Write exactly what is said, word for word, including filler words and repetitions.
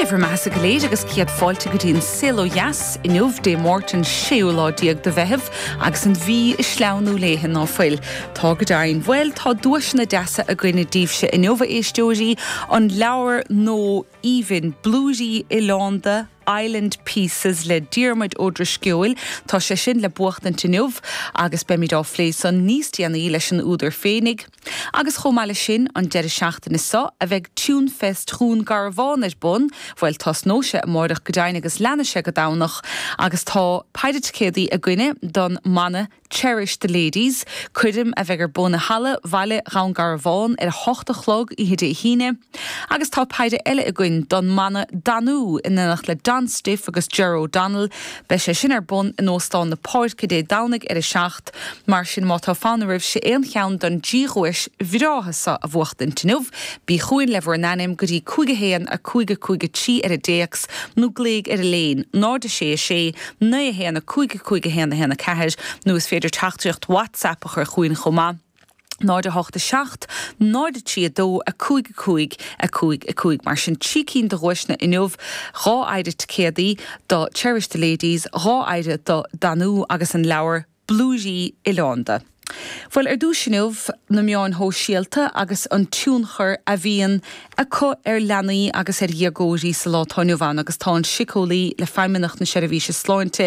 Dia bhur mbeatha go léir agus céad fáilte go dtí an Saol Ó Dheas inniu Dé Máirt an séú lá déag de Mheitheamh agus an mhí ag sleamhnú léi ná fuil. Tá go deimhin bhuel tá duaiseanna deasa againne daoibhse inniu a éisteoirí an leabhar nua aoibhinn Blúirí Oileánda Island Pieces le Diarmuid Ó Drisceoil Tá sé sin le buachtaint inniu agus beimid á phlé san níos déanaí leis an údar féinig. Agus chomh maith leis sin an deireadh seachtaine seo a bheidh Tunefest Dhún Garbhán ar bun, bhuel tosnóidh sé amárach go deimhin agus leanfaidh sé go Domhnach agus tá péire ticéadaí againne don mbanna Cherish the Ladies, coirm a bheidh ar bun i halla Bhaile Dhún Garbhán ar a hocht a chlog oíche Dé hAoine, agus tá péire eile againn don mbanna Danú in éineacht le Don Stiff agus Ger O'Donnell, beidh sé sin ar bun in Óstán na Páirce Dé Domhnaigh ar a seacht, mar sin má tá fonn oraibhse aon cheann den trí dhuais bhreátha seo a bhuachtaint inniu, bí chugainn le bhur n-ainm go dtí cúig a haon a cúig a cúig a trí ar an dtéacs nó glaoigh ar an léin náid a sé a sé naoi a haon a cúig a cúig a haon a haon a ceathair nó is féidir teachtaireacht WhatsApp a chur chugainn chomh maith. náid a hocht a seacht, náid a trí a dó, a cúig a cúig, a cúig a cúig. Mar sin trí cinn de dhuaiseanna inniu, dhá phéire ticéadaí do Cherish the Ladies, dhá phéire do Danú agus an leabhar Blúirí Oileánda. Bhuel ar dtús inniu na meáin shóisialta agus an tionchar a bhíonn acu ar leanaí agus ar dhéagóirí sa lá atá inniu ann agus tá an síceolaí le Feidhmeannacht na Seirbhíse Sláinte